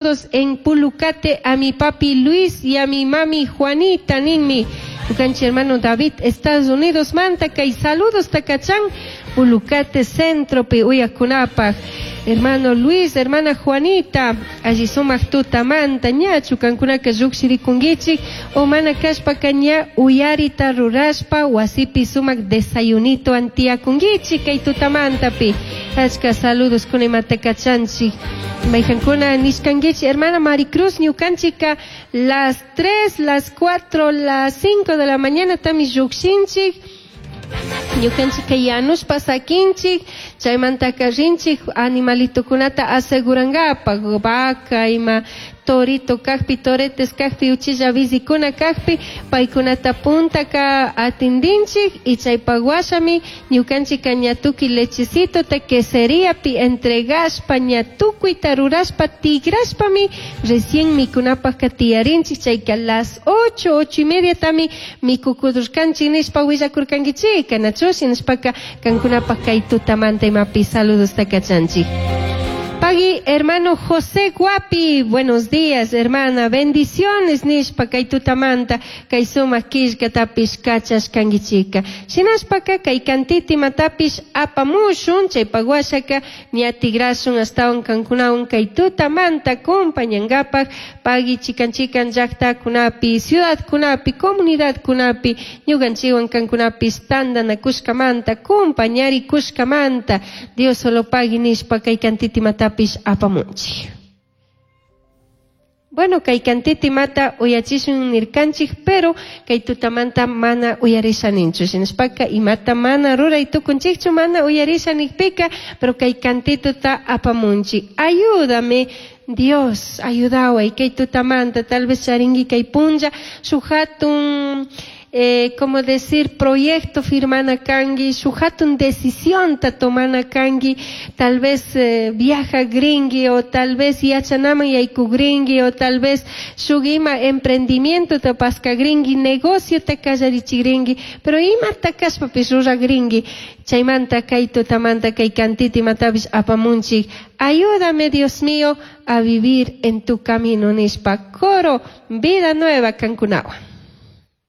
En Pulucate a mi papi Luis y a mi mami Juanita ninmi. Ñukanchik hermano David, Estados Unidos manta kay saludos takachan Pulucate centropi uyakunapaj. Hermano Luis, hermana Juanita, alli sumak tutamanta ñachu kankunaka llukshirikunkichik o mana kashpaka ña uyarita rurashpa wasipi sumak desayunito antiyakunkichik kay tutamantapi. Achka saludos kuna imata kachanchik. Mayhankuna nishkankichik, hermana Maricruz, ñukanchika las 3, las 4, las 5 de la mañana tami llukshinchik. Ñukanchika yanushpa sakinchik, chaymantaka rinchik animalitokunata asegurankapaj, vaca ima torito kajpi, toretes kajpi, uchilla bizikuna kajpi, paykunata puntaka atindinchik y chaypak washami ñukanchika ña tukuy lechecitota queseriapi entregashpa ña tukuyta rurashpa tigrashpami recién mikunapajka tiyarinchik, chayka las 8, 8 y media tami mikukudurkanchik nishpa willakurkankichika, nachu shinashpaka kankunapaj kay tutamanta imapi saludosta kachanchik. Pagui, hermano José Guapi, buenos días, hermana, bendiciones, nishpa, kay tutamanta, kay sumak killkatapish kachashkankichika. Shinashpaka, kay kantiti matapish apamushun, chaypak washaka, ña tigrashun ashtawan kankunawan kay tutamanta compañangapaj, pagui chikan chikan llaktakunapi, ciudadkunapi, comunidadkunapi, ñukanchikwan kankunapish tantanakushkamanta, compañarikushkamanta, Dios solo pagui nishpa, kay kantiti matapish apamunchik. Bueno, kay kantiti mata uyachishun nirkanchik, pero kay tutamanta mana uyarisha ninchu. Shinashpaka imata mana ruray tukunchikchu, mana uyarisha nikpika, pero kay kantituta apamunchik. Ayúdame, Dios, ayudaway, kay tutamanta, tal vez charingi kay punlla, shuk hatun, como decir, proyecto firmana kangi, shuk hatun decisión ta tomana kangi, tal vez viaja gringui o tal vez yachanaman yaykugringui o tal vez shuk ima emprendimiento ta pasca gringui, negocio ta kallarichigringui, pero ima ta kashpapish ruragringui, chaymanta kay tutamanta kay kantiti imatapish apamunchik. Ayúdame, Dios mío, a vivir en tu camino, nishpa. Coro, vida nueva, kankunawan.